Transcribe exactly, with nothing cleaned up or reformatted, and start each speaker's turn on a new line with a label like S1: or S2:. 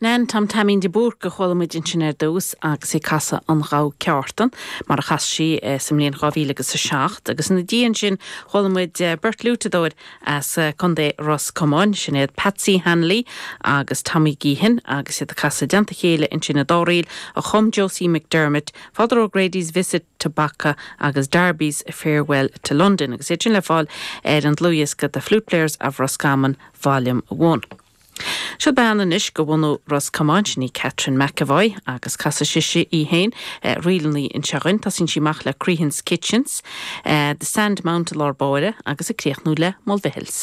S1: Nan Tom Taimín de Búrca a chuala muid ansin ar dtús agus í ag casadh an Ghabha Ceártan mar a chas sí eh, sa mbliain dhá mhíle agus a seacht, agus ina dhiaidh sin chuala muid eh, beirt fhliútadóir as eh, Contae Ros Comáin sin iad Patsy Hanley agus Tommy Geehan agus iad ag casadh i dteannta a chéile ansin an dá ríl a chum Josie McDermott, Father O'Grady's Visit to Bacca agus Darby's Farewell to London agus iad sin le fáil ar an dlúthdhiosca The Flute Players of Roscommon Volume one. Seo bean anois de bhunadh Ros Comáin sin í Catherine McAvoy agus casfaidh sise í féin eh, ríleanna anseo dúinn, Tosaíonn sí amach le Crehan's Kitchens, eh, The Sandmount lár báire agus ag críochnú le Mulvihills.